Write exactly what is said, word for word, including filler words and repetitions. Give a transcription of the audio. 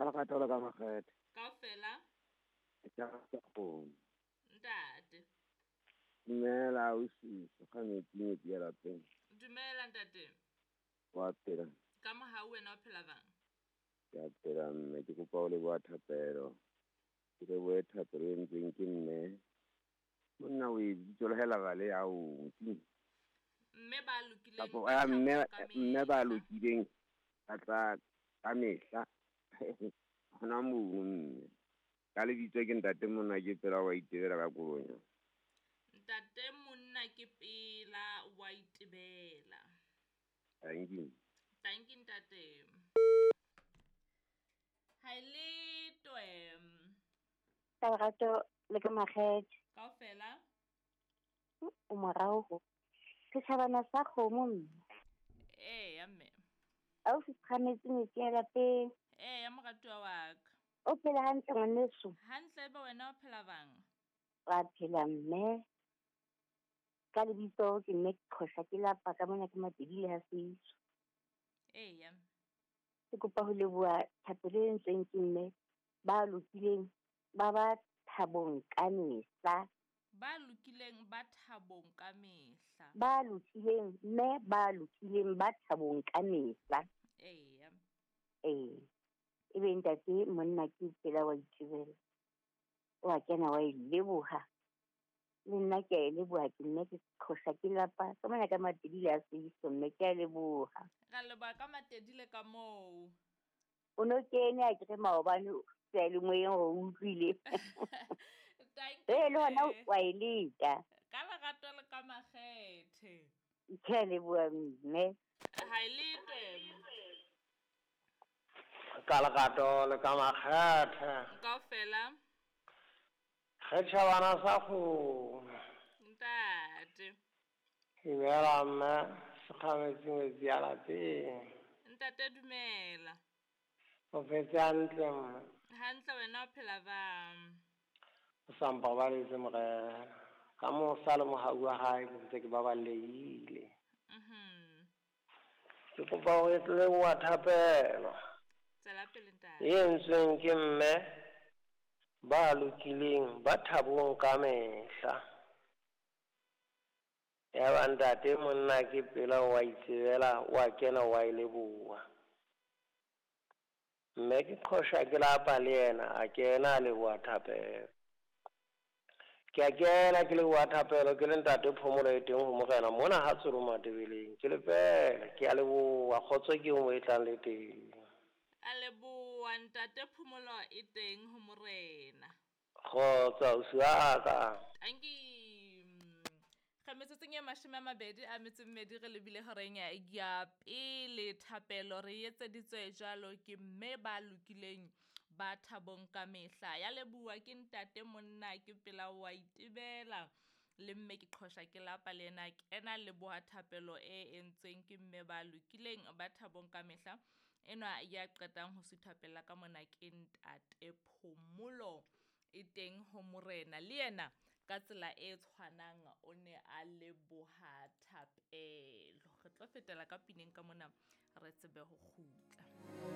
Ka lerato le ka makgethe. Kaofela. Ke rata kgomo. Ntate. Dumela ausi, sekgametsi metsi ya lapeng. Dumela ntate. Wa phela. Ka mohau wena o phela bang? Ke a phela mme, ke kopa ho leboha thapelo. Ke lebohe thapelo e entsweng ke mme. Monna o e bitso le hela bale ya o Mme ba lokileng Kapo ba ya mme thabong ka mme ba mehla. lokileng ba tla ka mehla. Hona mono mme. Ka lebitso ke ntate monna ke pela wa itebela ka kolonya. Ntate monna ke pela wa itebela. Thank you. Thank you ntate. Ha e le twe. Ka lerato le ka makgethe. Kaofela. O morao ho. Setjhabana sa kgomo mme. Eya mme. Ausi Sekgametsi metsi ya lapeng. Eya moratuwa wa ka. O phela hantle ngwaneso? Hantle ebe wena o phela bang? Wa phela mme. Ka lebitso ke mme Qhosha ke lapa ka mona ke Matebele ha Seiso. Eya. Ke kopa ho leboha thapelo e entsweng ke mme ba lokileng ba ba thabong ka mehla. Ba lokileng ba thabong ka mehla. Ba lokileng mme ba lokileng ba thabong ka mehla. Eya. Ee. Ebe ntate monna ke pela wa itebela. Wa kena wa e leboha. Le nna ke a e leboha, ke nna ke Qhosha ke lapa ka mona ka Matebele a Seiso mme ke a leboha. Ra leboha ka Matebele ka moo. O no kene a kere maobane seyalemoyeng hore o utlwile. Thank Ee, le hona you. wa e leka. Ka lerato le ka makgethe. Ke a leboha mme. Ha e le twe. Ka lerato le ka makgethe. Kaofela. Setjhabana sa kgomo. Ntate. Dumela mme, Sekgametsi metsi ya lapeng. Ntate dumela. O phetse hantle mme. Hantle wena o phela bang? O sa mpabaletse morena. Ka mosa le mohau wa hae ke ntse ke baballehile. Mhm. Ke kopa ho leboha thapelo. Tswela pele ntate. E entsweng ke mme ba lokileng ba thabong ka mehla. Ya ba ntate monna ke pela wa itsebela wa kena wa e leboha. Mme ke Qhosha ke lapa le yena a kena a leboha thapelo. Ke a kena ke leboha thapelo ke le ntate phomolo e teng ho morena mona ha Tsolo Matebeleng. Ke le fela ke a leboha kgotso ke mo e tlang le teng. A leboha ntate phomolo e teng ho morena. Kgotso ausi wa ka. Thank you. Ga metsotsong e mashome a mabedi a metso e mmedi re lebile horeng ya pele thapelo re etseditswe jwalo ke mme ba lokileng ba thabong ka mehla. Ya leboha ke ntate monna ke pela wa itebela le mme ke Qhosha ke lapa le yena kena leboha thapelo e entsweng ke mme ba lokileng ba thabong ka mehla. Enwa ya qetang ho suthapela ka mona ke ntate Phomolo e teng ho morena. Le yena ka tsela e tshwanang o ne a leboha thapelo. Re tlo fetela ka pineng ka mona re tsebe ho kgutla.